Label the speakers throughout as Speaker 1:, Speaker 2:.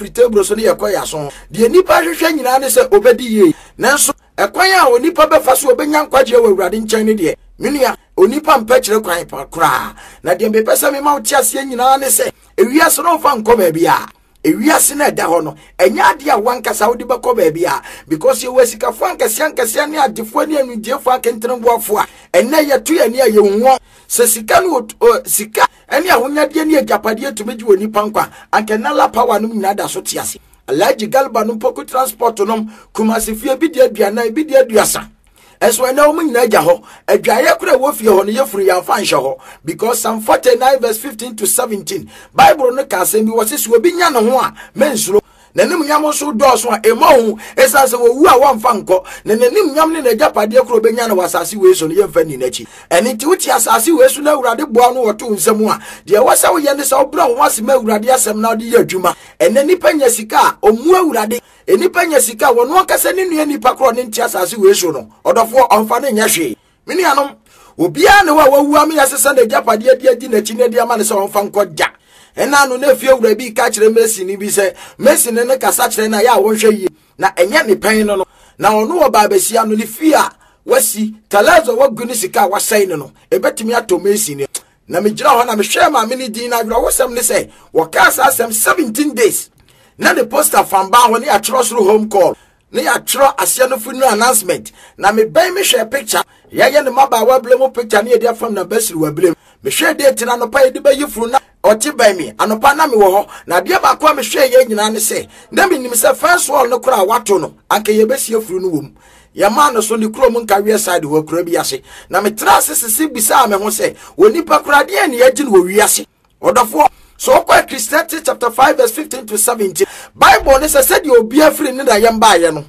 Speaker 1: firi table so ne yɛkɔ yɛn aso. Deɛ nnipa hwehwɛ nyinaa ne sɛ ɔbɛdi yie. Nanso ɛkwan a onipa bɛfa so ɔbɛnya nkwagyeɛ wɔ Awurade nkyɛn no deɛ, me nua, onipa mpɛ kyerɛ kwan pa koraa. Na deɛ mepɛ sɛ mema wo te aseɛ nyinaa ne sɛ, ewiase no mfa nkɔ baabi a. Ewiase no ɛda hɔ no, ɛnyɛ adeɛ a wankasa wode bɛkɔ baabi a, because yɛwɔ asikafoɔ ankɛseɛ ankɛseɛ ne agyefoɔ ne anugyeefoɔ akenteneboafoɔ a ɛnnɛ yɛto yɛn ani a yɛnhu wɔn. Sɛ sika ne sika ne ahonyadeɛ ne agyapadeɛ tumi gye onipa nkwa a, anka Nala Power nom nyinaa da so te ase. Alhaji Garba nom, Poku Transport nom, Kumasi fie bi di 40, bi di 30. Ɛnso ɛnɛ wɔn nyinaa gya hɔ. Adwaeɛ kora ɛwɔ fie hɔ no yɛfunu yɛamfa nhyɛ hɔ. Because Psalm 49 verse 15 to 17, Bible no ka asɛm bi wɔ se sɛ obi nya ne ho a, mensuro. N'animnyam nso dɔɔso a, ɛmmɔ hu, ɛsiane sɛ wɔwu a wɔmfa nkɔ, na n'animnyam ne n'agyapadeɛ koro bɛnya no wɔ asase wei so no, yɛmfa nni n'akyi. Ɛno nti, wote asase wei so na Awurade boa no wɔto wo nsa mu a, deɛ ɛwɔ sɛ woyɛ ne sɛ wobrɛ wo ho ase ma Awurade asɛm na wode yɛ adwuma. Ɛnnɛ nnipa nya sika a, ɔmmu Awurade. Nnipa nya sika a, wɔn ankasa ne nua nipa korɔ ne nte asase wei so no, ɔdɔfoɔ, ɔmfa no nyɛ hwee. Me nuanom, obiara ne hɔ a wawu ama yɛasesa n'agyapadeɛ de adi n'akyi na de ama no sɛ ɔmfa nkɔ da. Ɛna ano na efie wura bi ka kyerɛ Masoni bi sɛ Masoni no kasa kyerɛ no a yɛ a wɔnhwɛ yie na ɛnyɛ ne pɛn no no. Na ɔno wɔ baabasia no ne fie a wasi, talɛs a wagu ne sika a wasɛe no no, ebetumi atɔ Masoni. Na megyina hɔ na mehwɛɛ maame no din na awerɛhosɛm ne sɛ wɔkaa saa asɛm 17 days na ne poster fam baa hɔ ne yɛatwerɛ soro home call ne yɛatwerɛ aseɛ no funeral announcement na mebɛn mehwɛɛ picture yɛyɛ ne mmabaawa berɛ mu picture ne yɛde afam na basiriwa berɛ mu mehwɛɛ date no anɔpa yɛde bɛyi funu na ɔte bɛn me anɔpa na mewɔ hɔ na adeɛ baako a mehwɛɛ yɛ nyinaa ne sɛ na menim sɛ fence wall no koraa wato no anka yɛbɛsie funu no wɔ mu yɛmaa no so ne kurom nkaweɛ side hɔ akura bi ase na metra ase sese bisaa me ho sɛ onipa koraa deɛ ne yɛgye no wɔ wiase Ɔdɔfoɔ, sɛ wokɔ Ecclesiastes chapter 5 verse 15 to 17, Bible ne sɛ sɛdeɛ obiara firi ne na yɛm baeɛ no,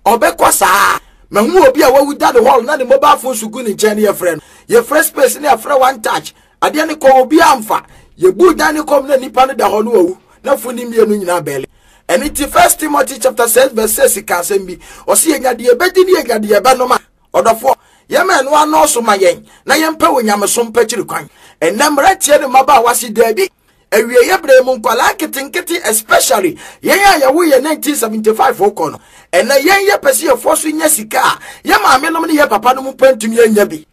Speaker 1: ɔbɛkɔ saa. Mahu obi a wawu da ne hall na ne mobile phone so gu ne nkyɛn ne yɛfrɛ no. Yɛfrɛ space ne yɛfrɛ one touch. Adeɛ no kɔ obiara mfa. Yɛbu dan ne kɔm na nipa no da hɔ no wawu na fo ne mmienu nyinaa bɛle. Ɛno nti First Timothy chapter 6 verse 6 ka asɛm bi. Ɔse yɛnya deɛ yɛbɛdi ne yɛnya deɛ yɛbɛnom a. Ɔdɔfoɔ, yɛma ɛno anɔɔso ma yɛn na yɛmpɛ wɔ nyamesom pakyiri kwan. Ɛnnɛ mmeranteɛ ne mmabaawa se daabi. Awieeɛ berɛ mu nkwadaa nketenkete especially yɛn a yɛwo yɛ 1975 kɔ no, ɛnnɛ yɛn yɛpɛ sɛ yɛfoɔ so nya sika a yɛ maame nom ne yɛ papa nom mpo ntumi anya bi.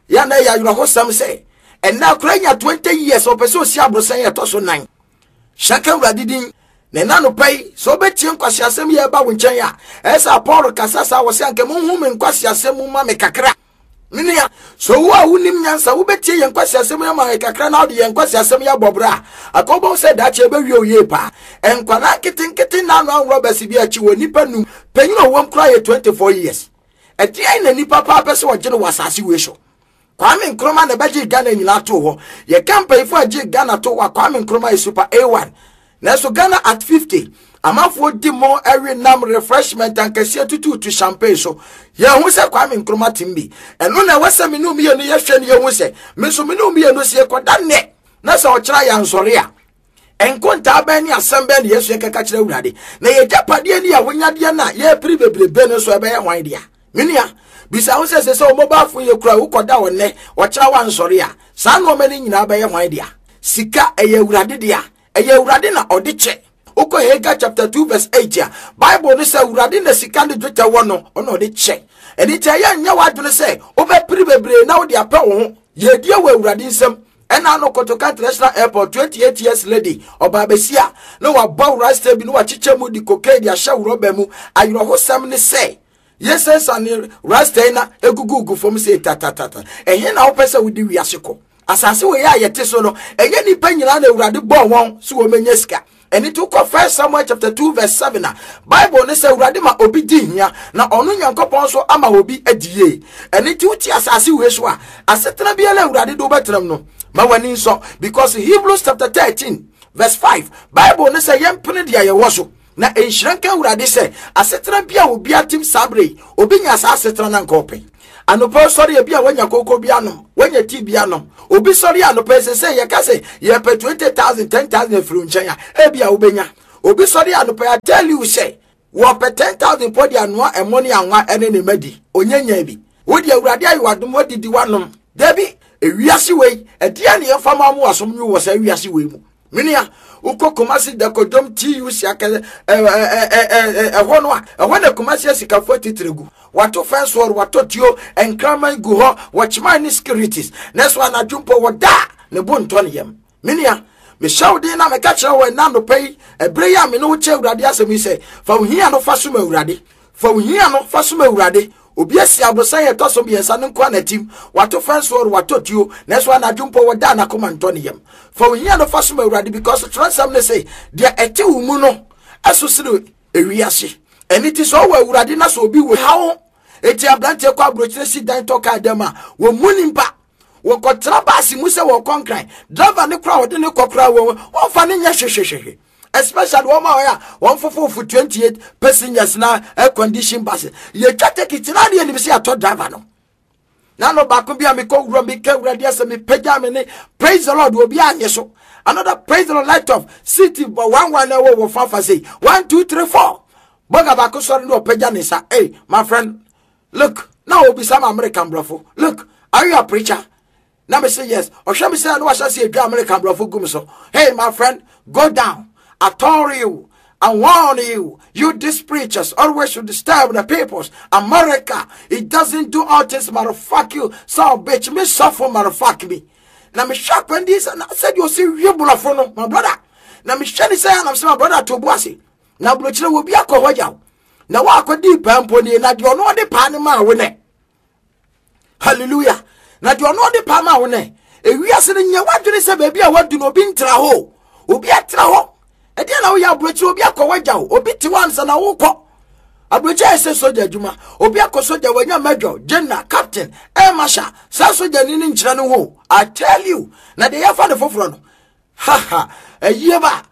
Speaker 1: Yɛ na ɛyɛ awerɛhosɛm sɛ ɛnnɛ akwadaa nya 20 years ɔpɛ sɛ ɔsi aborosan ɛtɔ so nan. Hyɛ ka Awurade din. Na ɛna anɔpa yi, sɛ wobɛtie nkwaseasɛm yi a ɛba wo nkyɛn a, ɛyɛ sɛ Paul kasa saa wɔ sɛ anka monhu me nkwaseasɛm mu ma me kakra. Me nua, sɛ wo a wonim nyansa wobɛtie yɛn nkwaseasɛm yi ama yɛn kakra na wode yɛn nkwaseasɛm yi abɔ bra a, anka wobɛhu sɛ daakye ɛbɛwie wo yie paa. Nkwadaa nketenkete nna ano anworɔ bɛse bi akyi wɔ nnipa num, panyin a ɔwom koraa yɛ 24 years. Ɛdeɛn na nnipa paa pɛ sɛ ɔgye no wɔ asase wei so? Kwame Nkrumah na ɛbɛgyee Ghana nyinaa too hɔ. Yɛka mpanyinfoɔ a gyee Ghana too hɔ a, Kwame Nkrumah yɛ super A1. Nanso Ghana at 50, amanfoɔ di mo ɛwe nam refreshment ankɛseɛ tutuutu champagne so. Yɛhu sɛ Kwame Nkrumah tem bi. Ɛno na ɛwɔ sɛ me ne mmienu yɛhwɛ ne yɛhu sɛ, me nso me ne mmienu sɛ yɛkɔda nnɛ na sɛ ɔkyena yɛansɔre a, Nkontaa bɛn ne asɛm bɛn na yɛsua kɛka kyerɛ Awurade? Na yɛgyapadeɛ ne yɛahonyadeɛ no a yɛrepere bebrebe no nso ɛbɛyɛ hwan dea? Me nua, bisa ho sɛ sɛ sɛ wo mobile phone yɛ kura wokɔda wɔ nnɛ, ɔkyena wansɔre a, saa nneɛma no nyinaa bɛyɛ hwan dea? Sika, ɛyɛ Awurade dea. Ɛyɛ Awurade na ɔde kyɛ. Wokɔ Haggai chapter 2 verse 8 a, Bible no sɛ Awurade na sika ne dwetɛ wɔ no, ɔna ɔde kyɛ. Ɛno nti ɛyɛ nyɛ w'adwene sɛ wobɛpere bebree na wode apɛ wo ho. Yɛdie wɔ Awurade nsam. Ɛna ano Kotoka International Airport 28 years lady ɔbaa besia na wabɔ rasta bi na wakyekyɛ mu de cocaine de ahyɛ rɔba mu. Awerɛhosɛm ne sɛ yɛsɛsane rasta yi na egugugu fam sɛ tatatata. Ɛhe na wopɛ sɛ wode wiase kɔ? Asase wei a yɛte so no, ɛnyɛ nnipa nyinaa na Awurade bɔɔ wɔn sɛ wɔmɛnya sika. Ɛno nti wokɔ First Samuel chapter 2 verse 7 a, Bible ne sɛ Awurade ma obi di hia na ɔno Nyankopɔn nso ama obi adi yie. Ɛno nti wote asase wei so a, asetena biara Awurade de wobɛtenam no, ma w'ani nsɔ. Because Hebrews chapter 13 verse 5, Bible ne sɛ yɛmpene deɛ yɛwɔ so. Na nhyira nka Awurade sɛ asetena bi a obi atem saa berɛ yi, obi nya saa asetena no anka ɔpɛ. Anɔpa sɔre ebi a wanya koko bi anom, wanya tii bi anom. Obi sɔre anɔpa sɛ sɛ yɛka sɛ yɛpɛ 20,000, 10,000 afiri nkyɛn a, ebi a wobɛnya. Obi sɔre anɔpa I tell you sɛ wɔpɛ 10,000 pɔ de anoa ɛmo ne anwa ɛne ne ma di, onyanya bi. Wo deɛ Awurade ayɛ w'adom wadidi wanom. Dabi, ewiase wei, ɛdeɛ ne yɛmfa ma mo asom nwo wɔ saa wiase wei mu. Menua, wokɔ Kumasi Dakodwom TUC akɛse ɛhɔ no a, ɛhɔ na Kumasi asikafoɔ atitire gu. Wato fɛnse wɔ watɔ tuo, nkraman gu hɔ, wɔkyeman ne securities. Nanso anadwo mpo wɔda a, ne bo ntɔ ne yam. Menua, mehyɛ wo den na meka kyerɛ wo ɛna anɔpa yi, ɛberɛ yi a me ne wo kyɛ Awurade asɛm yi sɛ, fa wo hia no fa som Awurade. Fa wo hia no fa som Awurade. Obi asi aborosan a ɛtɔ so mmiɛnsa no nko ara n'atim. Wato fɛnse ɔre, watɔ tuo, nanso anadwo mpo wɔda a n'akoma ntɔ ne yam. Fa wo hia no fa som Awurade because twerɛnsɛm no se, deɛ ɛte wo mu no ɛso sene ewiase. Ɛno ti sɛ ɔwɔ Awurade na sɛ obi wɔ haw eti aberanteɛ kɔ aburokyire si dan tɔ kaa dɛm a, wɔmmu nimpa. Wɔkɔtena baase mu sɛ wɔkɔ nkran. Driver ne koraa wɔde ne kɔ koraa wɔn wɔmfa ne nyɛ hwehwehwehwe. Especially wɔn a wɔyɛ a wɔn fofofo 28 passengers na air condition bus. Yɛtwa tekiti na adeɛ nim sɛ yɛatɔ driver no. Na no baako bi a mekɔ wura meka awurade asɛ mepagya me ne praise the Lord obi anyɛ so. Another praise the Lord light off city bɔ 11 na ɛwɔ wɔ fafa sei 1 2 3 4. Bɔga baako sɔre ne ɔpagya ne nsa. Hey my friend, look na obisa ma American brɔfo. Look, are you a preacher? Na me say yes. Ɔhwɛ me sɛ na wahyɛ se adwa American brɔfo gu me so. Hey my friend, go down. I told you. I warn you, you these preachers always should disturb the peoples. America, it doesn't do all things, motherfuck you. So bitch, me suffer, motherfuck me. Na me hwɛ akwan di sɛ na sɛ deɛ ɔsi wie borɔfo no, my brother. Na me hwɛ ne sɛ anam sɛ my brother to bu ase. Na aburokyerɛ wɔ bi akɔ hɔ yaw. Na wakɔdi paa mpo nie, na deɛ ɔno ɔde paa no maa wo nɛ. Hallelujah. Na deɛ ɔno ɔde paa maa wo nɛ. Ewiase no nyɛ w'adwene sɛ baabi a wadu no obi ntra hɔ. Obi atra hɔ. Ɛdeɛ na woyɛ aburokyerɛ obi akɔ wagya wo. Obi te hɔ ansa na wokɔ. Aburokyerɛ yɛ sɛ sogya adwuma. Obi akɔ sogya wanya major, general, captain, air marshal. Saa sogya ni no nkyerɛ no ho. I tell you. Na deɛ yɛfa no foforɔ no. Ha ha. Ayie ba.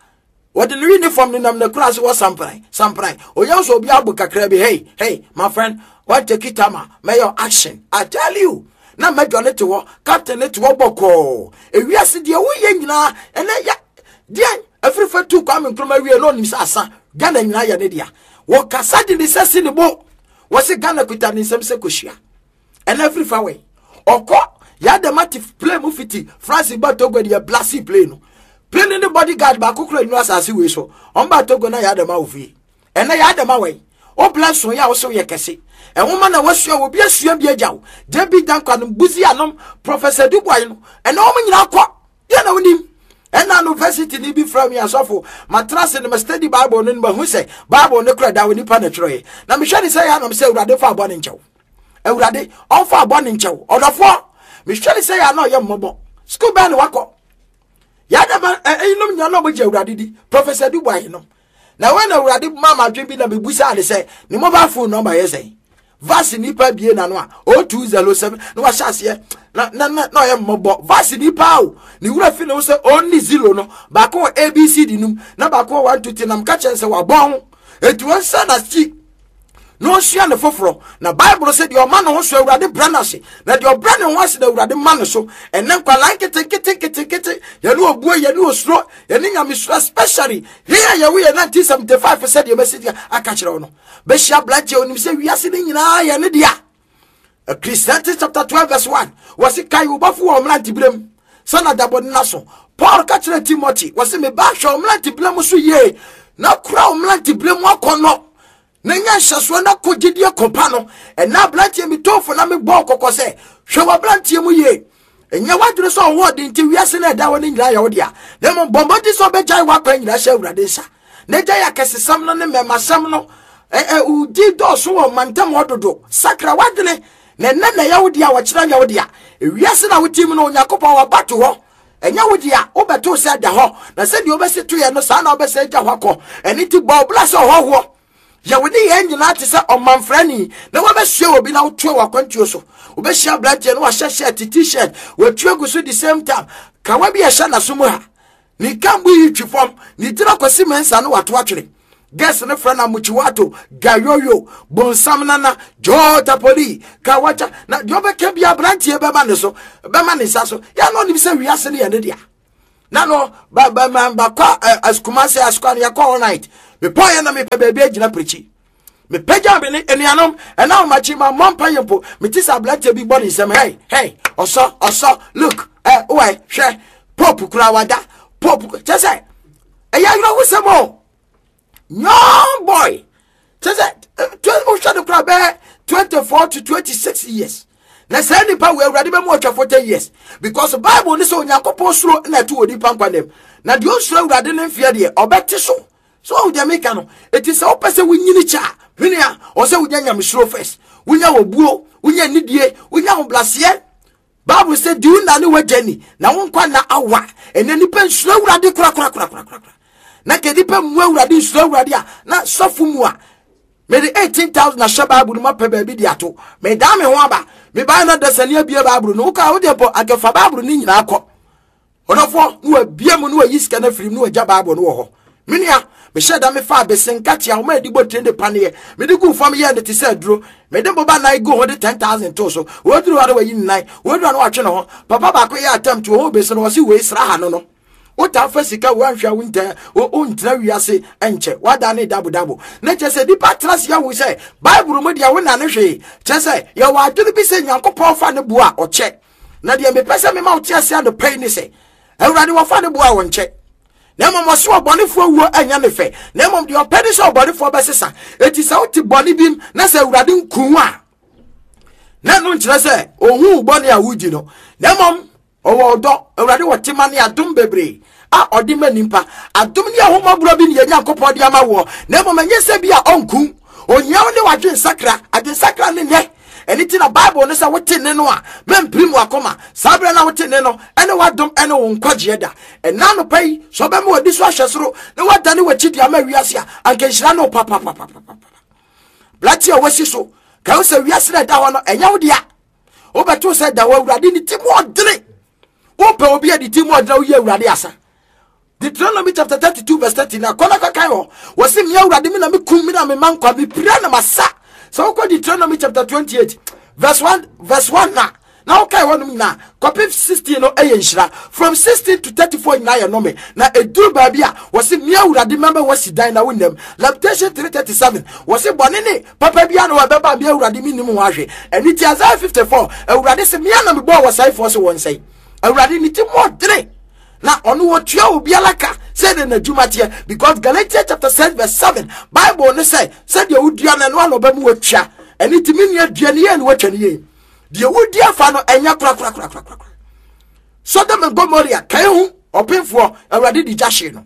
Speaker 1: Wɔde ne uniform nenam n'akura ase wɔ sampran sampran. Oyɛ nso obi abo kakra bi. Hey hey my friend, what take it ama mɛyɛ action. I tell you. Na mɛdwa ne te hɔ, captain ne te hɔ bɔkɔɔ. Ewiase deɛ woyɛ nyinaa ɛnɛ ya deɛ afirifa tu Kwame Nkrumah wie na onim sɛ asa Ghana nyinaa yɛ ne dea. Wɔkasa de ne sɛ si ne bo. Wɔse Ghana kuta ne nsam sɛ kosua. Ɛna afiri fa wɛn ɔkɔ yadama te plane mu fiti France ba Togo deɛ blasi plane no plane ne bodyguard baako kura nnu asase wei so ɔn ba Togo na yadama wɔ fie ɛna yadama wɛn o bla so yɛ a wosɛ yɛ kɛse ɛnwoma na wasua obi asua bi agya wo JB Dankwa no Buzi anom Professor Dubois no ɛna wɔn nyinaa kɔ deɛ na wonim ɛna no university ni bi frɛ me asɔfo matena ase no ma study bible no no mahu sɛ bible no kora da wɔ nipa na twerɛeɛ na mehwɛ ne sɛ yɛ anam sɛ awurade fa abɔ ne nkyɛw awurade ɔmfa abɔ ne nkyɛw ɔdɔfoɔ mehwɛ ne sɛ yɛ ana ɔyɛ mmɔbɔ sukuu bɛn ne wakɔ yɛadama ɛyinom nyina na ɔmogye awurade di professor dubois nom na wɔn na awurade ma ma adwene bi na mebusaa ne sɛ ne mobile phone number yɛ sɛn vasi nipa bie n'ano a 0207 na wahyɛ aseɛ na na na na ɔyɛ mmɔbɔ vasi nipa o ne wura fi ne ho sɛ ɔnni zero no baako wɔ abcd num na baako wɔ 1 2 3 nam ka kyɛn sɛ wabɔn ho eti wɔn nsa na si na ɔnsua ne foforɔ na bible sɛ deɛ ɔma ne ho so awurade brɛ no ase na deɛ ɔbrɛ ne ho ase na awurade ma ne so ɛnɛ nkwalaa nketenketenketenkete yɛne obuo yɛne osuro yɛne nyamesuro especially yɛn a yɛwo yɛ 1975 sɛ deɛ mɛsi deɛ aka kyerɛ wo no bɛhyia aberanteɛ onim sɛ wiase no nyinaa yɛ ne dea Ecclesiastes chapter 12 verse 1 wɔse kae wo bɔfo wɔ mmeranteberɛ mu sɛ na dabɔ no so Paul ka kyerɛ Timothy wɔse meba hwɛ wo mmeranteberɛ mu so yie na kura wo mmeranteberɛ mu akɔnnɔ na nya nhyɛsoɔ na kɔ gyidie kɔpa no ɛna aberanteɛ metɔfo na mebɔɔ kɔkɔ sɛ hwɛ w'aberanteɛ mu yie ɛnyɛ w'adwene sɛ ɔwɔ ɔde nti wiase no ɛda hɔ no nyinaa yɛ wo dea na mmom bɔ mmɔden sɛ ɔbɛgyae w'akwan nyinaa hyɛ awurade nsa na gyae akɛsesɛm no ne mmɛmasɛm no wodi dɔɔso wɔ mantam hɔ dodo sakra w'adwene na ɛnɛ na ɛyɛ wo dea wɔkyerɛ nyɛ wo dea ewiase na wotim no onyankopɔn waba to hɔ ɛnyɛ wo dea wobɛto sɛ da hɔ na sɛdeɛ wobɛsi toyɛ no saa na wobɛsɛ agya hɔ akɔ ɛno nti bɔ wo bra sɛ ɔhɔhoɔ Yɛ wo nneyɛɛ nyinaa te sɛ ɔmamfrani na wabɛsoɛ obi na wotoa w'akwantuo so. Wobɛhyia aberanteɛ na wahyɛ shirt, t-shirt, watu agu so the same time. Kawa bi a ɛhyɛ n'aso mu ha. Ne kambu yi twi fam, ne tiri akɔsi mɛnsa no wato atwene. Girls no frɛ no amuchiwato, gayoyo, bonsam nana, joo tapoli, kawacha. Na deɛ ɔbɛka bi aberanteɛ bɛma ne so, bɛma ne nsa so. Yɛ na ɔnim sɛ wiase no yɛ ne dea. Na no ba ba ma ba kɔ asukuma sɛ asukwa no yɛkɔ all night. Mepɔ yɛ na mepɛ baabi agyina pirikyi. Mepagya me ne anuanom ɛna ahomakye ma mmɔ mpa yɛ mpo. Mete sɛ aberanteɛ bi bɔ ne nsam hey hey ɔsɔ ɔsɔ look ɛ wɛ hwɛ pope kura wada. Pope kyɛ sɛ ɛyɛ awerɛhosɛm o. Young boy kyɛ sɛ wohwɛ no koraa bɛyɛ 24 to 26 years. Na saa nipa wɔ Awurade bɛmu ɔtwa 40 years because Bible ne sɛ Onyankopɔn suro na ɛto wɔ nipa nkwa nam. Na deɛ ɔnsuro Awurade ne mfeɛ deɛ ɔbɛte so. So wahu deɛ meka no? Eti sɛ wopɛ sɛ wonyini kyɛ a, me nua, ɔwɔ sɛ wonya nyamesuro first. Wonya obuo, wonya nidie, wonya ahobraseɛ. Bible sɛ di wo na ne w'agya ni na wo nkwa nna awa. Ɛnɛ nipa nsuro Awurade korakorakorakorakora. Na ka nipa mmu Awurade nsuro Awurade a na sɔfo mu a mede 18,000 ahyɛ Bible no mu apɛ baabi de ato. Medaa me ho aba. Mebae na dasani abie Bible no. Woka wo deɛ mpo anka fa Bible no nyinaa kɔ. Ɔdɔfoɔ, na wabie mu na wayi sika no afiri mu na wagya Bible no wɔ hɔ. Me nua, mehyɛ da mefaa bese nkate a wɔma yɛde bɔ tire ne paneɛ. Mede guu fam yɛɛ no te sɛ aduro. Mede boba nan guu ho de 10,000 too so. Wɔduru hɔ na wayi ne nan. Wɔduru hɔ na watwe ne ho. Papa baako yɛɛ attempt, ohuu bese no, ɔse wei sra ha no no. Wotaa fa sika woanhwɛ a wontɛ wontena wiase nkyɛ. Woadane dabodabo. Na kyerɛ sɛ nipa tena ase ahu sɛ Bible mu deɛ wonnane hwee. Kyerɛ sɛ yɛwɔ adwene bi sɛ Nyankopɔn fa ne bo a ɔkyɛ. Na deɛ mepɛ sɛ mema wote ase anɔpa yi ne sɛ, Awurade wɔfa ne boa a wɔnkyɛ. Na mmom ɔse ɔbɔnefoɔ wuo ɛnyɛ ne fɛ, na mmom deɛ ɔpɛ ne sɛ ɔbɔnefoɔ bɛsesa. Enti sɛ wote bɔne bi na sɛ Awurade nku a, na ɛno nkyerɛ sɛ ɔhu bɔne a wodi no, na mmom ɔwɔ ɔdɔ. Awurade wɔ tema ne adom bebree a ɔde ma nipa. Adom ne ahomɔborɔ bi ne yɛn Nyankopɔn de ama woɔ, na mmom ɛnyɛ sɛ bi a ɔnku. Ohia wo ne w'adwensakra. Adwensakra ne nnɛ. Ɛno nti na Bible no sɛ wote nne no a, mɛmpirim w'akoma. Saa berɛ no a wote nne no, ɛne w'adom ɛne wo nkwagyeɛ da. Ɛna anɔpa yi, sɛ ɔbɛma w'ani so ahwɛ soro na woadane w'akyi de ama wiase a, anka nhyira ne wo papapapapapa. Blate a wasi so, ka wo sɛ wiase no ɛda hɔ no, ɛnyɛ wo dea. Wobɛto sɛ da hɔ Awurade ne ti mu ɔdene. Wopɛ obi a ne ti mu ɔdene a woyi Awurade asa. Deuteronomy chapter 32 verse 13 na kɔ na kɔkan hɔ. Wɔsi mmea Awurade me na me kum me na me ma nkwa me pira na masa. Sɛ wokɔ Deuteronomy chapter 28 verse 1 verse 1 na na wokae hɔnom nyinaa kɔpem 16 no ɛyɛ nhyira. From 16 to 34 nyinaa yɛ nnome. Na ɛduru baabi a wɔsi mmea Awurade mɛma wasi dan na wonnam. Lamentation 3:37 wɔsi bɔne ne papa biara na wɔbɛba mmea Awurade mennim ho ahwɛ. Ɛno ti Isaiah 54 Awurade se mmea na mebɔɔ wɔsɛefoɔ se wɔnsɛe. Awurade ne ti mu ɔdene. Na ɔno wɔtua obiara ka sɛdeɛ n'adwuma teɛ, because Galatians chapter 6 verse 7 Bible no sɛ sɛdeɛ wodua no ɛno ana ɔbɛmu watua. Ɛno nti me nua dua ne yie na watwa ne yie. Deɛ wodi afa no ɛnyɛ korakorakorakorakora. Sodom and Gomorrah kae ho ɔpemfoɔ Awurade de gya hyee no.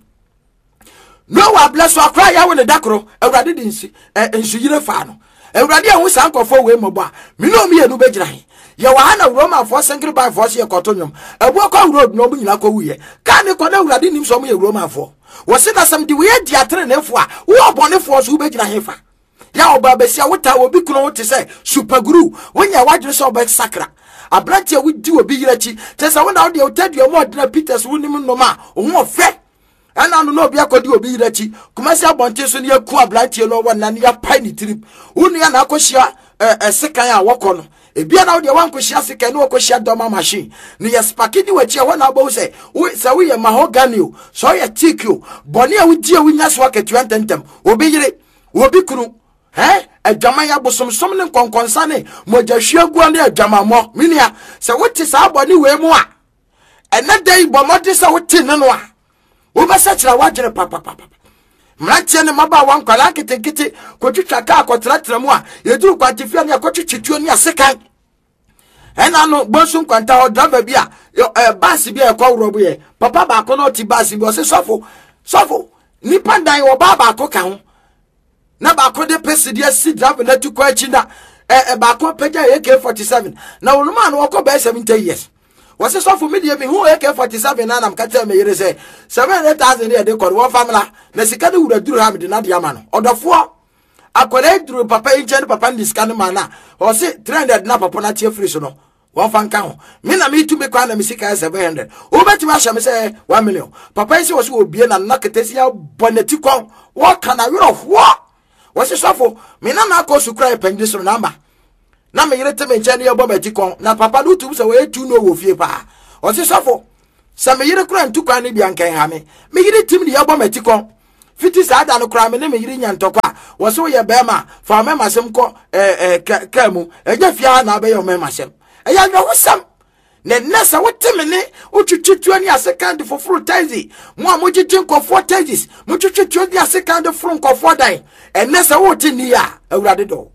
Speaker 1: Noa berɛ so akora yɛawo ne da koro Awurade de nsu nsuyire faa no. Awurade ahu saa nkurɔfoɔ wei mmɔbɔ a me ne wɔn mmienu bɛgyina he? Yɛwɔ ha na Romanfoɔ senkere banfoɔ so yɛkɔto nnwom. Abuo kɔ road na wɔn nyinaa kɔwuiɛ. Kaa ne kɔ na Awurade nim sɛ wɔn yɛ Romanfoɔ. Wɔse na sɛ mede wei adi ateneneefoɔ a, wo ɔbɔnefoɔ nso wobɛgyina he fa? Yɛ ɔbaa basia wotaa obi kunu ho te sɛ supaguru. Wonyɛ w'adwene sɛ wobɛsakra. Aberante a wodi obi yere akyi kyerɛ sɛ wo na wodeɛ wotadua mu ɔdena Peters wonim nnom a wo ho ɔfɛ. Ɛna no na obi akɔdi obi yere akyi Kumasi abɔnten so ne yɛku aberanteɛ no ɔwɔ nna ne yɛapae ne tirim. Wo nua na akɔhyia ɛsekan a wɔkɔ no. Ebia na wodeɛ woankɔhyia sekan ne wɔkɔhyia dɔma machine ne yɛ spaki di w'akyi ɛhɔ na wobɛhu sɛ sɛ woyɛ mahogany o sɛ woyɛ teak o bɔne a wodi a wonya so akatua ntɛmntɛm. Obi yere, obi kunu, ɛ adwaman abosomsom ne nkɔnkɔnsa ne mogyahwiaguo ne adwamammɔ. Me nua, sɛ wote saa bɔne wei mu a, ɛnɛ da yi bɔ mmɔden sɛ wote ne no a wobɛsɛkyerɛ w'adwene papapapa. Mmeranteɛ ne mmabaawa nkwadaa nketenkete kɔtwitwa kaa kɔtenatena mu a yɛduru kwantefia ne akɔtwetwe tuo ne asekan. Ɛna no bonsu nkwanta hɔ driver bi a ɛ baasi bi a ɛkɔ worɔ yɛ papa baako na ɔte baasi bi ɔse sɔfo sɔfo nipa dan ɔbaa baako ka ho na baako de pesi de asi driver no ati kɔ akyi na ɛ baako apagya AK47 na wɔn mu a no wɔkɔ bɛyɛ 70 years. Wɔse sɔfo me deɛ mehu AK47 na nam ka kyerɛ me yere sɛ 700,000 ne yɛde kɔ no wɔmfa mmra na sika no wura duru ha mede no adeɛ ama no. Ɔdɔfoɔ akwadaa yi duru papa yi nkyɛn ne papa no de sika no ma no a ɔse 300 na papa no ate afiri so no wɔmfa nka ho. Me na metu me kwan na me sika yɛ 700 wobɛtumi ahyɛ me sɛ 1 million. Papa yi sɛ wɔse wɔbie na nna ketesi abɔ n'ati kɔn wɔka na werɛhoɔ. Wɔse sɔfo me nana akɔ sukuu ayɛ panyini soro na ama na me yere te me nkyɛn ne yɛbɔ m'akyi kɔn na papa no wotum sɛ wɔyɛ tu no wɔ fie paa. Ɔse sɔfo sɛ me yere kora ntu kwan no bi anka nha me. Me yere tim ne yɛbɔ m'akyi kɔn. Fiti saa da no koraa me ne me yere nya ntɔkwa a wɔse woyɛ bɛrima a fa ɔmɛmasɛm kɔ ɛɛ kaa mu ɛnyɛ fie ha na abɛyɛ ɔmɛmasɛm. Ɛyɛ awerɛhosɛm. Na nnɛ sɛ wote me ne wotwitwi tuo ne asekan de foforo taxi, mo a mogyegye nkɔfoɔ taxis, motwitwi tuo ne asekan de foro nkɔfoɔ dan, ɛnnɛ sɛ wote nni a, Awurade dɔ wo.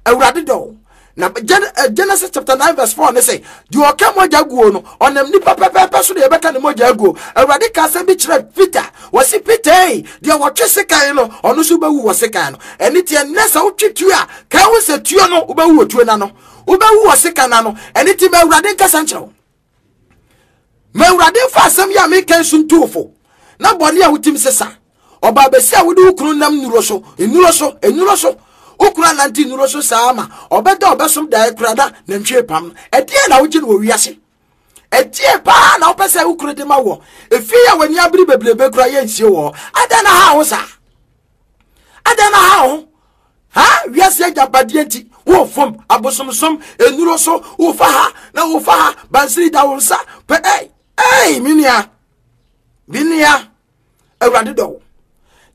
Speaker 1: Awurade dɔ wo. Na eh, Genesis chapter 9 verse 4 ne sɛ, deɛ ɔka mogya guo no, ɔnam nipa pɛpɛɛpɛ so na yɛbɛka ne mogya aguo. Awurade ka asɛm bi kyerɛ Peter, wɔsi Peter ei, deɛ wɔtwe sekan no, ɔno nso bɛwu wɔ sekan no. Ɛne tiɛ nnɛ sɛ wotwe tuo a, ka ho sɛ tuo no, wobɛwu wɔ tuo no ano. Wobɛwu wɔ sekan no ano. Ɛne ti ma Awurade nkasa nkyerɛ wo. Ma Awurade mfa asɛm yi a meka nso ntu wo fo, na bɔne a wotim sesa. Ɔbaa bɛsi a wode wo kunu nam nnuro so, nnuro so, nnuro so. Wo kunu anante nnuro so saa ma ɔbɛda ɔbɛsom daeɛ koraa na nantwie pam no. Ɛdeɛn na wogye no wɔ wiase? Ɛdeɛn paa na wopɛ sɛ wo kunu de ma wɔ? Efie a w'ani abere bebrebe koraa yɛnsie wɔ hɔ. Adɛn na ha wo saa? Adɛn na ha wo? Ha wiase agyapadeɛ nti wofom abosomsom nnuro so wofa ha na wofa ha bansiri da wo nsa pɛ ɛy ɛy me nua me nua awurade dɔ wo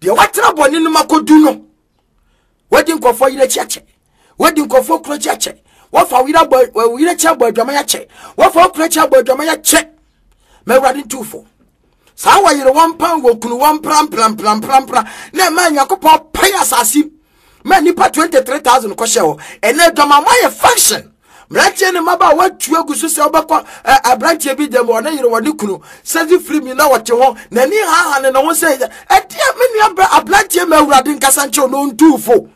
Speaker 1: deɛ watena bɔne no mu akɔdu no wadi nkɔfoɔ yerɛ akyi akyɛ wadi nkɔfoɔ kunu akyi akyɛ wafa wo yerɛ akyi abɔ adwaman akyɛ wafa wo kunu akyi abɔ adwaman akyɛ ma awurade ntufo saa wɔyere wɔn pan wɔ kunu wɔn pramprampramprampra na ɛma nyankopɔn pae asase ma nnipa 23000 kɔhyɛ hɔ ɛnɛ adwamammɔ ayɛ function mmeranteɛ ne mmabaa wɔatu agu so sɛ wobɛkɔ aberanteɛ bi dɛm ɔne yere wɔne kunu sɛdze firi mi na wɔte ho n'ani haha ne ne ho sɛ ɛdeɛ me nua brɛ aberanteɛ ma awurade nkasa nkyerɛw na ɔntuu fo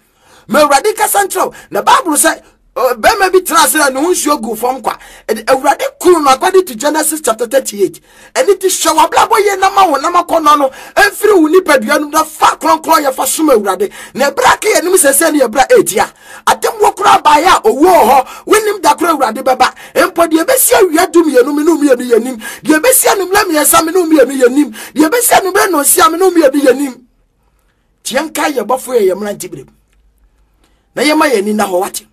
Speaker 1: ma awurade nkasa nkyerɛw na bible sɛ bɛrima bi tena ase na ne ho nsuo gu fam kwa ɛde awurade kunu no according to genesis chapter 38 ɛne ti hyɛ w'abrabɔ yie na ma wo nam akɔnnɔ no mfiri wo nipadua no na fa kronkron yɛ fa som awurade na ɛberɛ aka yɛnim sɛ sɛ ne yɛberɛ a ɛtia atemmuo koraa baeɛ a owuo wɔ hɔ wonim da koro awurade bɛba mpo deɛ ɛbɛsi awia du mmienu me ne mmienu yɛnim deɛ ɛbɛsi anummerɛ mmiɛnsa me ne mmienu yɛnim deɛ ɛbɛsi anummerɛ nnɔnsia me ne mmienu yɛnim tiɛ nka yɛ bɔfo yɛ yɛ mmerante berɛ mu na yɛma yɛn ani na hɔ wate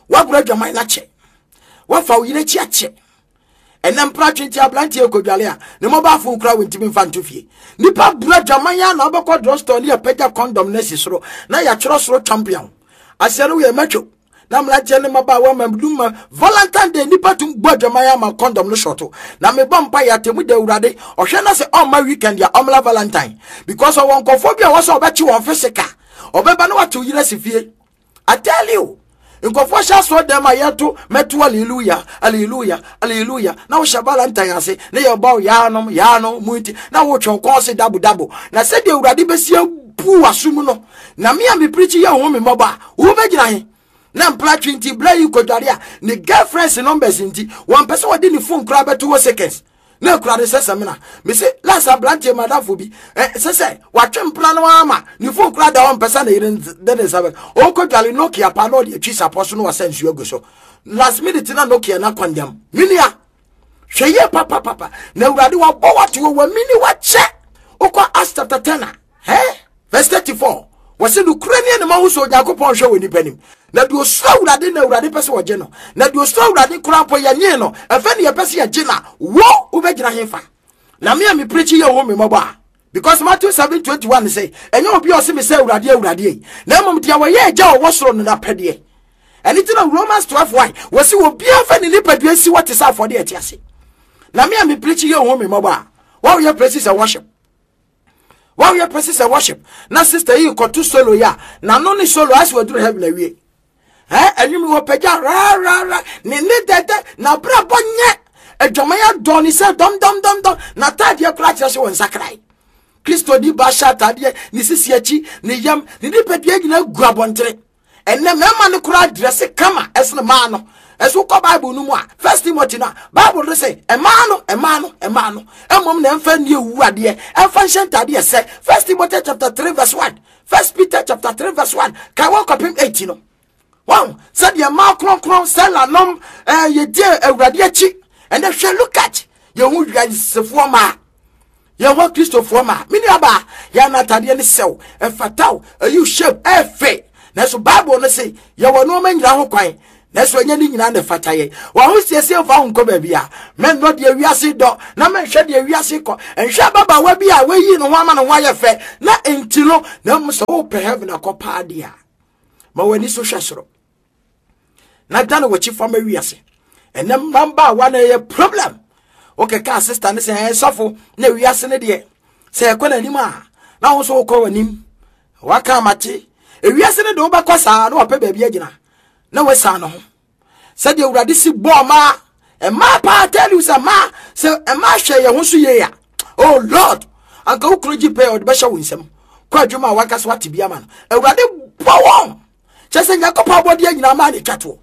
Speaker 1: woagorɔ adwaman no akyɛ woafa wo yerɛ akyi akyɛ ɛnɛ mpratwe nti aberanteɛ kɔdwale a ne mobile phone kora wɔntumi mfa nto fie nipa bura dwaman a na wobɛkɔ drugstore ne yɛpagya condom no asi soro na yɛatwerɛ soro champion aseɛ no woyɛ matwo na mmeranteɛ ne mmabaawa ma dum ma valentine day nipa tum bɔ adwaman ama condom no shɔto na mebɔ mpa yɛ atemu da awurade ɔhwɛ na sɛ ɔmma weekend a ɔmmla valentine because ɔwɔ nkɔfoɔ bi a wɔsɛ ɔbɛkye wɔn physical ɔbɛba na watew yerɛ si fie I tell you nkurɔfoɔ hyɛ asoɔ dɛm a yɛto mɛto aleluya aleluya aleluya na wohyɛ valentine ase ne yɛbɔ yaanom yaanom mu nti na wotwe kɔn se dabo dabo na sɛdeɛ awurade bɛsi abu w'aso mu no na me a mepirikyi yɛ wo me mmɔbɔ a wobɛgyina he na mpratwe nti berɛ yi kɔdware a ne girlfriends numbers nti wɔmpɛ sɛ wɔde ne phone koraa bɛto wɔ seconds na akura ne sɛ sɛmina mese last aberanteɛ madamfo bi sɛ sɛ watwe mpena no ama ne fon kura da hɔ mpɛ sɛ ne yere de ne nsa bɛ ɔkɔ dwale nokia paa na ɔde atwi sapɔ so na wasa nsuo agu so last minute na nokia na kɔndɛm menua hwɛ yie papapapa na awurade wabɔ wato wɔ wamini wakyɛ wokɔ Acts chapter 10 a Hɛ? Verse 34. Wɔse nokorɛ ni anima ho sɛ Onyankopɔn hwɛ wɔ nipa nim. Na deɛ osuro Awurade na Awurade pɛ sɛ ɔgye no. Na deɛ osuro Awurade koraa mpo yɛnyee no. Ɛfɛ ne yɛpɛ sɛ yɛgye na wo wobɛgyina hefa? Na me a me preachi yɛ wo me mmɔbɔ a. Because Matthew 7:21 sɛ ɛnyɛ obi a ɔse me sɛ Awurade Awurade ei, na mmom deɛ wɔyɛ agya a ɔwɔ soro no n'apɛdeɛ. Ɛno nti na Romans 12 1 wɔse obiara mfa ne nipadua nsi hɔ te sɛ afɔdeɛ ɛte ase. Na me a me preachi yɛ wo me mmɔbɔ a, wɔyɛ praises and worship. Wɔyɛ praises and worship na sister yi kɔto solo yi a n'ano ne solo asɛ waduru heaven awie. Ɛ ɛnwom wɔ pagya rarara ne ne dɛdɛ n'abrabɔ nyɛ adwaman adɔ ne sɛ dɔm dɔm dɔm dɔm n'ataadeɛ koraa kyerɛ sɛ wɔn nsakrae. Kristo ni ba hyɛ ataadeɛ ne sisi akyi ne yam ne nipadua nyinaa gu abɔntene. Ɛnnɛ mmarima no koraa drɛse kama ɛsene mmaa no. Ɛso wokɔ Bible no mu a, First Timothy no a, Bible no sɛ mmaa no, mmaa no, mmaa no, mmom na ɛmfa nni ewu adeɛ, ɛmfa nhyɛ ntadeɛ sɛ First Timothy chapter 3 verse 1, First Peter chapter 3 verse 1, kan wɔn kɔpem 8 no. Wɔn sɛdeɛ mmaa kronkron sɛla nom ɛɛ yɛdie awurade akyi. Ɛnɛ hwɛ look at yɛn ho wiasefoɔ mmaa. Yɛwɔ Kristofoɔ ma me nuabaa yɛ no atadeɛ no sɛw ɛfataw ɛyi shape ɛfɛ nanso Bible no se yɛwɔ nneɛma nyinaa ho kwan nanso ɛnyɛ ne nyinaa na ɛfata yɛ wɔn ho siesie mfa ho nkɔ baabi a mɛnnɔ deɛ wiase dɔ na mɛnhwɛ deɛ wiase kɔ nhwɛ ababaawa bi a wayi ne ho ama ne ho ayɛ fɛ na nti no na mmom sɛ wopɛ heaven akɔ paa deɛ a ma w'ani so hwɛ soro na dane w'akyi fa ma wiase. Ɛnɛ mmabaawa na ɛyɛ problem. Wokɛka sister ne sɛ ɛyɛ sɔfo na wiase ne deɛ sɛ ɛkɔ n'anim a na wo nso wokɔ w'anim. Waka amate. Ewiase ne de wobɛkɔ saa na wapɛ baabi agyina na wasan ne ho. Sɛdeɛ Awurade si bɔɔ mmaa, mmaa paa tell you sɛ mmaa sɛ mmaa hwɛ yɛn ho so yie a, oh Lord, anka wo kunu gye pɛ ɔde bɛhyɛ wo nsam. Kɔ adwuma a wankasa wate bi ama no. Awurade bɔ wɔn. Kyɛ sɛ Nyankopɔn abɔdeɛ nyinaa maa ne twa toɔ.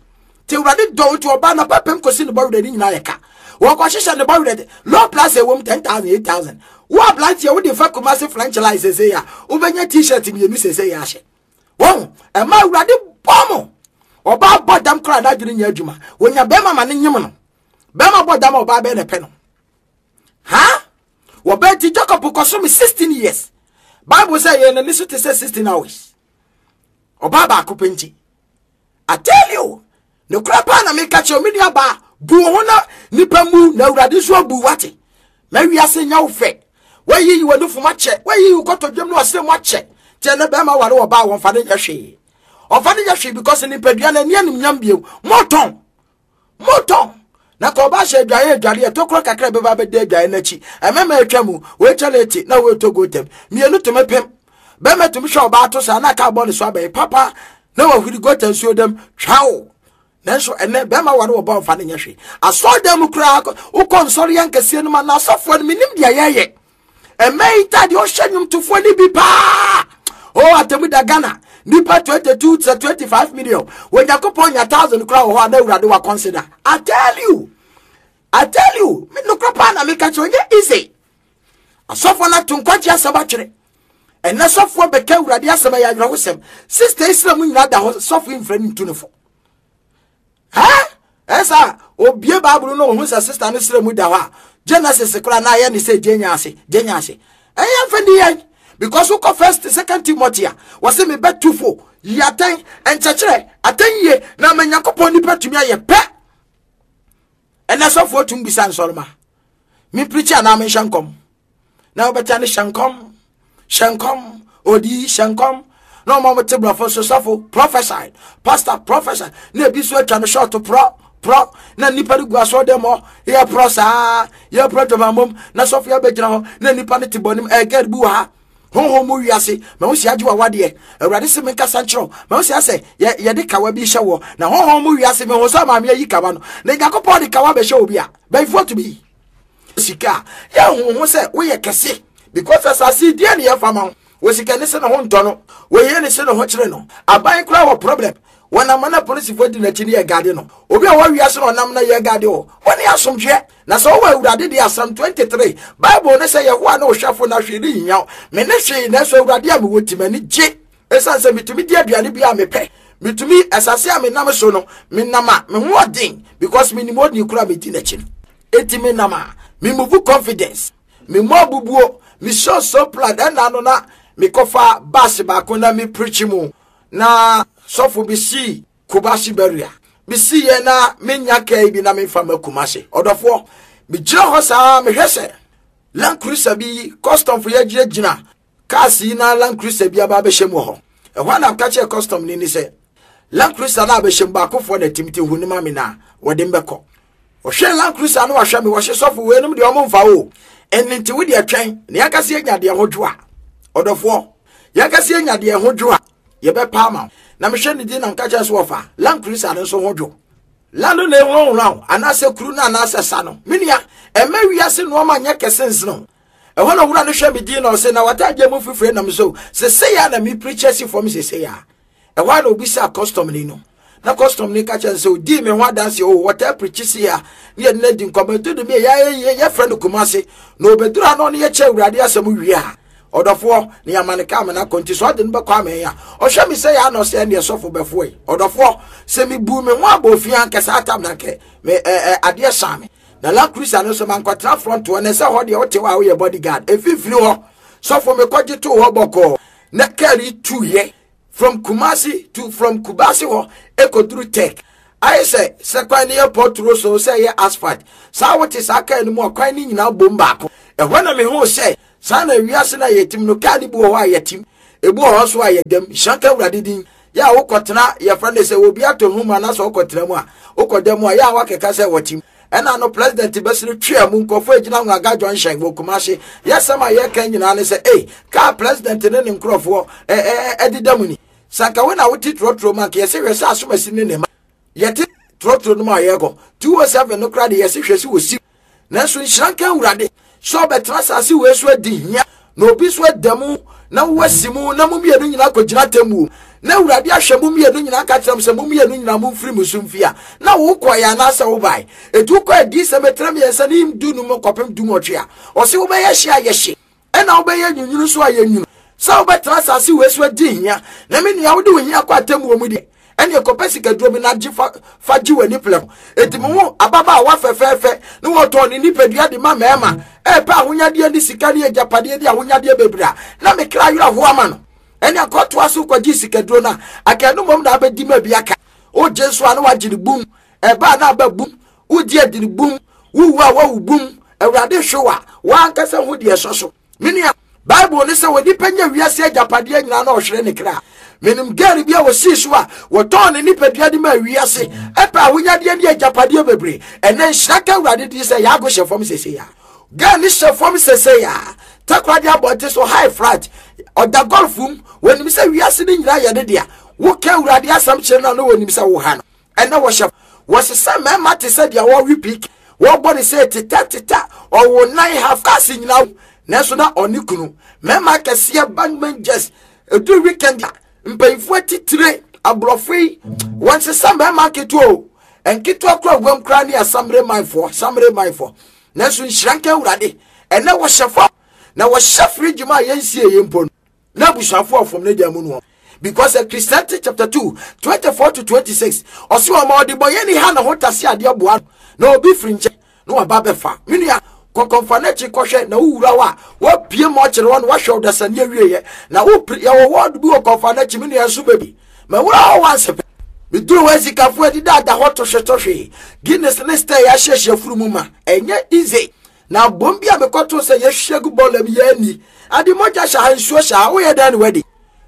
Speaker 1: Nti Awurade dɔ wo nti ɔbaa na pɛpɛm kɔsi ne bɔwerɛ ne nyinaa yɛ ka. Wɔkɔhyehyɛ ne bɔwerɛ low plus ɛwom 10,000 8,000. Wo aberanteɛ wode fa Kumasi French line sesei a wobɛnya t-shirt mmienu sesei ahyɛ. Wɔn ɛma Awurade bɔ mo. Ɔbaa bɔ dam koraa n'adwene nyɛ adwuma. Wɔnya bɛrima ma ne nyem no. Bɛrima bɔ dam a ɔbaa bɛyɛ na ɛpɛ no. Ha? Wɔbɛn ti Jacob kɔso me 16 years. Bible sɛ yɛn n'ani so te sɛ 16 hours. Ɔbaa baako pɛ nti. I tell you, nokorɛ paa na meka kyerɛ me nua baa, bu wo ho na nipa mu na awurade nso abu wate. Ma wiase nyɛ wo fɛ. Wayiyi w'anufom akyɛ, wayiyi wo kɔtɔdwam ne w'asrɛ mu akyɛ. Kyɛ ne bɛrima ware wɔ baa wɔmfa ne nyɛ hwee. Ɔmfa ne nyɛ hwee because nipadua no ani animnyam bio. Motɔn. Motɔn. Na ka ɔba hyɛ adwaeɛ adwareɛ tokoro kakra bɛba bɛda adwaeɛ no akyi. Ɛmɛma atwa mu, wei kyɛlɛ eti na wei tɔ gotam. Mmienu tumi pem. Bɛrima tumi hwɛ ɔbaa to saa na aka abɔ ne so abɛn papa na wahuri gota nsuo dam twaw. Nanso ɛnɛ bɛrima ware wɔ bɔ mfa no nyɛ hwee. Asɔredan mu koraa wokɔ nsɔre yɛ nkɛseɛ no ma na asɔfoɔ no menim deɛ yɛyɛ. Ɛmɛ yi ntadeɛ ɔhyɛ nnwomtofoɔ no bi paa. O atemu da Ghana nipa 22 sɛ 25 million. Onyankopɔn nya thousand koraa wɔ hɔ a na awurade wa consider. I tell you, I tell you, me nokora paa na meka kyerɛ ɔnyɛ easy. Asɔfoɔ no ato nkwagye asɛm atwere. Ɛnɛ sɔfoɔ bɛka awurade asɛm ɛyɛ awerɛhosɛm. Sister Islam nyinaa da hɔ sɔfo mfrɛ no ntu no fo. Hɛ? Ɛsɛ obie Bible no ohun sɛ sister no srɛ mu da hɔ a Genesis koraa na ayɛ ne sɛ gyenya ase gyenya ase. Ɛyɛ mfa ni yɛn because wokɔ first second Timothy a wɔse mebɛtu fo yi atɛn nkyɛkyerɛ atɛn yie na ama Nyankopɔn nipa tumi ayɛ pɛ. Ɛnɛ sɔfoɔ tum bisa nsɔrema mempirikyi anaa menhyɛ nkɔm. Na wobɛta ne hyɛ nkɔm hyɛ nkɔm odi hyɛ nkɔm na ɔma wɔte borɔfo so sɔfo prophesy pastor prophesy na ebi nso atwa no short prɔ prɔ na nnipa no gu asɔre dɛm hɔ yɛ prɔ saa yɛ prɔ dwamammom na sɔfo yɛ abɛgyina hɔ na nnipa no te bɔnem ɛgɛd bi wɔ ha honhom mu wiase ma wo si agye wawadeɛ awurade se menkasa nkyerɛ wo ma wo si asɛ yɛde kawa bi hyɛ wɔ na honhom mu wiase mehu sɛ maame ayi kawa no na nyankopɔn de kawa bɛhyɛ obi a bɛyifoɔ tumi yi sika a yɛhu ho sɛ woyɛ kɛse because asase deɛ ne yɛfa ma wo wɔ sika ne se ne ho ntɔ no wɔyɛ ne se ne ho kyerɛ no aban koraa wɔ problem wɔnam na polisifoɔ di n'akyi ne yɛ gade no obi a wɔawia so na ɔnam na yɛ gade o wɔne asomdwoeɛ na sɛ wowɔ awurade deɛ asɛm 23 bible ne sɛ yɛhoa ne wohwɛfo na hwee ne hia wo me ne hwee nanso awurade a mewɔ ti m'ani gye ɛsiane sɛ metumi di aduane bi a mepɛ metumi asase a menam so no menam a me ho ɔden because menim ɔdini koro a medi n'akyi no eti menam a me move confidence me mmɔ abubuo me show so plan ɛna no na mekɔfa bus baako na me preach mu na sɔfo bi sii Kumasi barrier mesi yɛ na menya kaa bi na memfa ma Kumasi ɔdɔfoɔ megyina hɔ saa mehwɛ sɛ Land Cruiser bi custom fo yɛgyinagyina Cars yi na Land Cruiser bi aba abɛhyɛ mu wɔ hɔ. Ɛhɔ a na meka kyerɛ custom ni ni sɛ, Land Cruiser no abɛhyɛ mu baakofoɔ na tim ti hu ne ma me na wɔde mbɛkɔ. Ɔhwɛ Land Cruiser no wahwɛ me wɔhye sɔfo weinom deɛ ɔmo mfa o. Ɛno nti wo deɛ twɛn na yɛnkasa yɛnya deɛ ho dwo a. Ɔdɔfoɔ, yɛnkasa yɛnya deɛ ho dwo a yɛbɛpa ama wo. Na mehwɛ ne din na meka kyerɛ so wɔfa Land Cruiser no nso ho dwo. Land no na ehurahura wo anaasɛ kuru no anaasɛ sa no. Me nua, ɛmma wiase nnoɔma nyɛ kɛse nsene wo. Ɛhɔ na owura no hwɛ me din na ɔse na w'ataadeɛ mu fifire nam so sesei a na me preacher si fam sesei a. Ɛhɔ a na obisaa custom ni no. Na custom ni ka kyerɛ no sɛ odii me ho adanse o wɔtaa preachi si ha ne yɛde no adi nkɔmmɔ ɛto de me yɛ yɛfrɛ no Kumase na obɛduru ha na ɔne yɛkyɛ awurade asɛm wie a ɔdɔfoɔ na yɛama no kaa mena kɔ nti sɛ ɔde no bɛkɔ amɛn a ɔhwɛ me sɛ yɛ ana ɔsɛ ɛneɛ sɔfo bɛfoɔ yi ɔdɔfoɔ sɛ mebu me ho abɔ ofie ankɛ saa tam na nkɛ me adeɛ saa me Na Land Cruiser no nso mankɔtena front hɔ na ɛsɛ hɔ deɛ wote hɔ a woyɛ bodyguard mfimfini hɔ sɔfo mekɔgye too hɔ bɔkɔɔ na kaa yi tuiɛ from Kumasi to from Kubasi hɔ ɛkɔduru Tech ayɛ sɛ sɛ kwan no yɛ pɔturo so sɛ ɛyɛ asphalt saa wote saa kaa no mu a kwan no nyinaa bom baako ɛhɔ na mehuu sɛ saa na wiase no a yɛtim no kaa no bi wɔ hɔ a yɛtim ebi wɔ hɔ nso a yɛdam nhyira nka awurade din yɛ a wokɔtena yɛfrɛ no sɛ obi atɔ nhoma na sɛ wokɔtena mu a. Wokɔda mu a, yɛ a woakeka sɛ wɔte mu. Ɛna no president bɛsere twea mu nkurɔfoɔ agyina Nwaga junction wɔ Kumasi. Yɛsɛm a yɛka nyinaa ne sɛ, ei, kaa president ne ne nkurɔfoɔ ɛdeda mu ni. Sɛ anka wo na wote trɔtrɔ mu anka yɛsɛ hwɛ sɛ asomasi ne ne ma. Yɛte trɔtrɔ no mu a yɛrekɔ 207 no koraa de yɛse hwɛ sɛ wɔsi. Nanso nhyira nka Awurade sɛ ɔbɛtena asase wei so adi hia na obi nso ada mu na woasi mu na mo mmienu nyinaa kɔgyina atemmuo na Awurade ahwɛ mo mmienu nyinaa ka kyerɛ mo sɛ mo mmienu nyinaa momfiri mo so mfi a na wokɔeɛ anaasɛ wobae. Ɛti wokɔ adiyisɛm etire mmiɛnsa ne 15 kɔpem 18 a ɔse wobɛyɛ hye a yɛhye ɛna wobɛyɛ nwunwunu nso a yɛnwunu sɛ wobɛtena asase wei so adi hia na me nua wode wo hia kɔ atemmuo mu deɛ ɛne kɔpɛ sikaduro bi na gye fa fa gye w'ani plɛm eti mo ho ababaawa fɛfɛɛfɛ ne wɔtɔn ne nipadua de ma mmarima ɛɛpɛ ahonyadeɛ ne sika ne agyapadeɛ ne ahonyadeɛ bebree a na me kra werɛ ho ama no ɛne akɔtoa so kɔgye sikaduro no a aka ɛno mmom na abɛdi ma bi aka wogye nso a na wagye ne bum ɛbaa na aba bum wogye adi ne bum wowu a wawu bum awurade hwew a wankasa ho deɛ ɛsɔ so Me nua, Bible ne sɛ onipa nya wiase agyapadeɛ nyinaa na ɔhwere ne kra. Menim girl bi a wɔsii so a wɔtɔn ne nipadua de maa wiase ɛpɛ ahonyadeɛ ne agyapadeɛ bebree. Ɛnɛ nhyira ka Awurade din sɛ yɛago hyɛ fam sese ya. Girl ne hyɛ fam sese ya. Takoradi abɔnte so high flat. Ɔda golf mu. Wɔnim sɛ wiase no nyinaa yɛ ne dea. Woka Awurade asɛm kyerɛ no a na wɔnim sɛ woha no. Ɛnɛ wɔhyɛ wɔsesa mmarima te sɛ deɛ wɔwe pik wɔbɔ ne sɛ teta teta ɔwo nan half cars nyinaa nanso na ɔne kunu mmarima akɛseɛ bank managers ɛduru weekend a mpanyinfoɔ atitire aborɔfo yi wɔnsesa mmarima nketewa o nketewa kora wam koraa ne asamere manfoɔ samere manfoɔ nanso nhyira nka awurade ɛnɛ wɔhyɛ fam na wɔhyɛ fridge mu a yɛnsie yɛ mpo no na abusuafo a ɔfam n'agya mu no because Ecclesiastes chapter 2 24 to 26 ɔsi ɔma ɔdebɔyɛni ha ne ho tase adeɛ boa no na obi firi nkyɛn na waba bɛfa me nua kɔkɔmfa n'akyi kɔhwɛ na wowura hɔ a wapue ma ɔkyerɛ hɔ na wahwɛ ɔdasani awieɛ na wopere yɛwɔ wɔɔdo bi wɔ kɔmfa n'akyi me nua nso baabi ma wura hɔ wanse pɛ meduru hɔ asikafoɔ adida da hɔ tohwetohwe Guinness ne stɛ yɛahyehyɛ furu mu ma ɛnyɛ easy Na abom bi a mekɔtoo sɛ yɛhwie agu bɔɔla mu yɛ ani. Ade mogya hyɛ ha, nsuo hyɛ ha, woyɛ dɛn na wadi?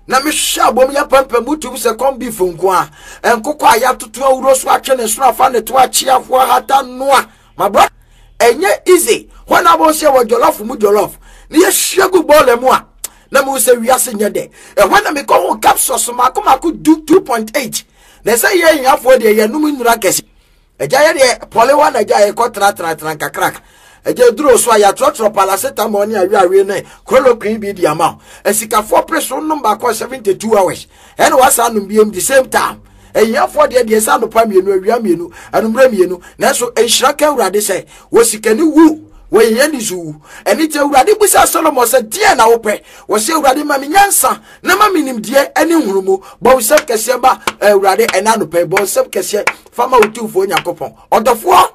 Speaker 1: Na mehwehwɛ abom yɛ pampam mu tum sɛ corn beef nko a. Nkokɔ a yɛatoto awuro so atwe ne sono afa ne to akye ahoa hata noa. My brother, ɛnyɛ easy. Hɔ na abom sɛ wɔ jollof mu jollof. Na yɛhwie gu bɔɔla mu a, na mehu sɛ wiase nyɛ dɛ. Ɛhɔ na mekɔ ho capsules mako mako du 2.8. Na ɛsɛ yɛ ahiafoɔ deɛ yɛnom nnura kɛse. Agya yɛ deɛ pɔlewa na agya yɛkɔ tenatena nkakraka. Agya duro so a yɛatrɔtrɔ paracetamol ne aweawe ne chloroquine bi de ama wo. Asikafoɔ pere so nom baako a 72 hours. Ɛna wasa anom biem the same time. Ahiafoɔ deɛ deɛ sɛ anɔpa mmienu, awia mmienu, anummerɛ mmienu. Nanso nhyira ka Awurade sɛ wɔ sikani wu, wɔ hiani nso wu. Ɛno nti Awurade bisa Solomon sɛ deɛ na wopɛ? Wɔsɛ Awurade ma me nyansa na ma me nimdeɛ ne nhunumu. Bɔ wo nsam kɛseɛ ma Awurade ɛna anɔpa yi. Bɔ wo nsam kɛseɛ fa ma Otumfoɔ Nyankopɔn. Ɔdɔfoɔ,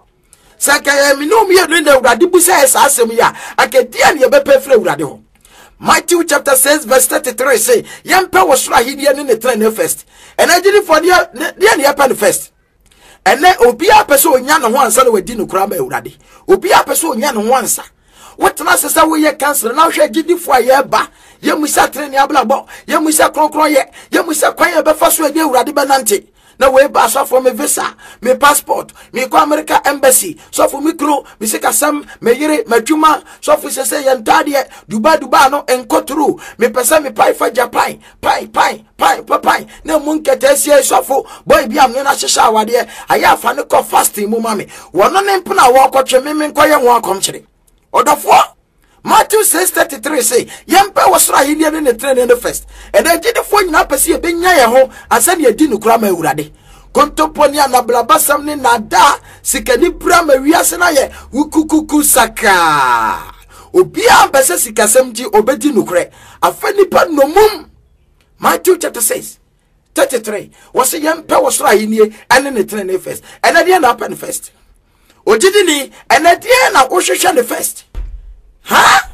Speaker 1: sɛ anka yɛn me ne wo mmienu na Awurade bisa yɛ saa asɛm yi a, anka deɛ ne yɛbɛpɛ firi Awurade hɔ. Matthew chapter 6 verse 33 say, yɛmpɛ wɔ soro ahenni ne ne tenenee first. Ɛnɛ agyidifoɔ deɛ ne yɛpɛ no first. Ɛnɛ obiara pɛ sɛ onya ne ho ansa na wadi no koraa ma Awurade. Obiara pɛ sɛ onya ne ho ansa. Wotena ase sɛ woyɛ kansere na wohwɛ agyidifoɔ a yɛreba, yɛmmisa tenenee abrabɔ, yɛmmisa kronkronyɛ, yɛmmisa kwan a yɛbɛfa so ɛne Awurade bɛnante. Na wei ba sɔfo me visa, me passport, mekɔ America embassy, sɔfo me kunu, me sikasɛm, me yere, m'adwuma, sɔfo sese yɛn ntaadeɛ, Dubai Dubai no nkɔ turu, mepɛ sɛ mepae fa Japan, pan pan pan pa pan na emu nkɛtɛasia yi sɔfo boy bi a mene no ahyehyɛ awadeɛ ayɛ afa no kɔ fasting mu ma me wɔno ne mpena a wɔrekɔtwe me menkɔyɛ ho akɔmkyere ɔdɔfoɔ Matthew 6:33 se yɛmpɛ wɔ soro ahenni ne ne trenee no first. Ɛnna agyidifoɔ nyinaa pɛ sɛ yɛbɛnya yɛn ho ansa na yɛdi nokora ma Awurade. Kontompo ne anablabasɛm ne naadaa sikani bra ma wiase no ayɛ wukukuku sakaa. Obiara mpɛ sɛ sikasɛm nti obɛdi nokorɛ. Afa nipa nnommum. Matthew chapter 6 33 wɔsɛ yɛmpɛ wɔ soro ahennie ɛne ne tenene first. Ɛnɛ deɛ na apɛ no first. Ogyidini ɛnɛ deɛ na wohwehwɛ no first. Ha?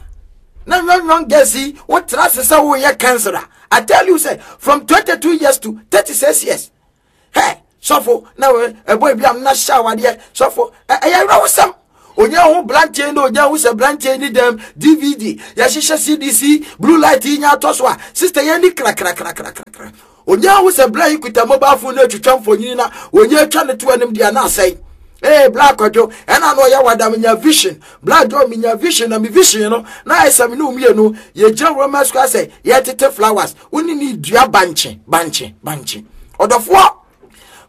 Speaker 1: Na young girls yi wotra ase sɛ woyɛ cancer a I tell you say from 22 years to 36 years. Hey, sɔfo na ɛbɔ ebi am na hyɛ awadeɛ sɔfo ɛyɛ awerɛhosɛm onye ho brantie na onye ho sɛ brantie ni dɛm dvd yɛhyehyɛ cdc blue light yi nya atɔ so a sister yɛn ni krakrakrakrakra. Onyaa ho sɛ bla yi kuta mobile phone no atwitwa mfonini na onyaa atwa ne to anim deɛ na asɛe. Ee, bla Kwadwo, ɛna na ɔyɛ wada menya vision. Bla John menya vision na me vision no na ayɛ sɛ me ne wo mmienu yɛgyina Roman Square sɛ yɛtete flowers. Wo ne ne dua bankye, bankye, bankye. Ɔdɔfoɔ,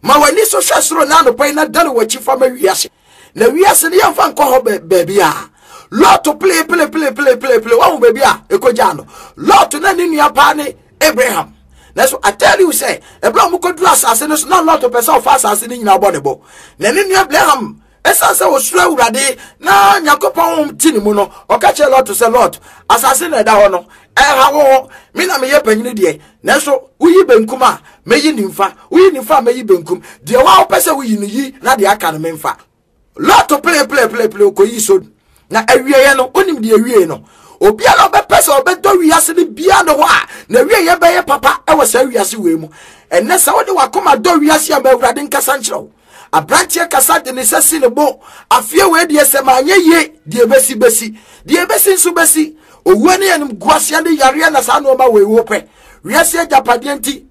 Speaker 1: ma w'ani so hwɛ soro na anɔpa yi na dane w'akyi fa ma wiase. Na wiase no yɛmfa nkɔ hɔ baabi a. Lot pele pele pele pele pele pele wahu baabi a ɛkɔgyaa no. Lot na ne nua paa ne Abraham. Nanso I tell you sɛ ɛberɛ a wɔkɔduru asase no so na Lot pɛ sɛ ɔfa asase no nyinaa bɔ ne bo. Na ne nua Abraham ɛsiane sɛ ɔsuro Awurade na Nyankopɔn honhom te ne mu no, ɔka kyerɛ Lot sɛ, Lot, asase na ɛda hɔ no, ɛnha wo ho. Me na meyɛ panyini deɛ, nanso woyi benkum a, mɛyi nimfa, woyi nimfa a, mɛyi benkum. Deɛ wo a wopɛ sɛ woyi no yi, na deɛ aka no memfa. Lot pere pere pere pere okoyi Sodom. Na awieɛ no, wonim deɛ awie no. Obiara a ɔbɛpɛ sɛ ɔbɛdɔ wiase no biara ne hɔ a, na awieɛ bɛyɛ papa wɔ saa wiase wei mu. Ɛnnɛ sɛ wode w'akoma dɔ wiase a, ma Awurade nkasa nkyerɛ wo. Aberanteɛ kasa de ne nsa si ne bo. Afeɛ wei deɛ sɛ manyɛ yie, deɛ ɛbɛsi bɛsi. Deɛ ɛbɛsi nso bɛsi. Owuo ne animguaseɛ ne yareɛ na saa nnoɔma wei wopɛ. Wiase agyapadeɛ nti.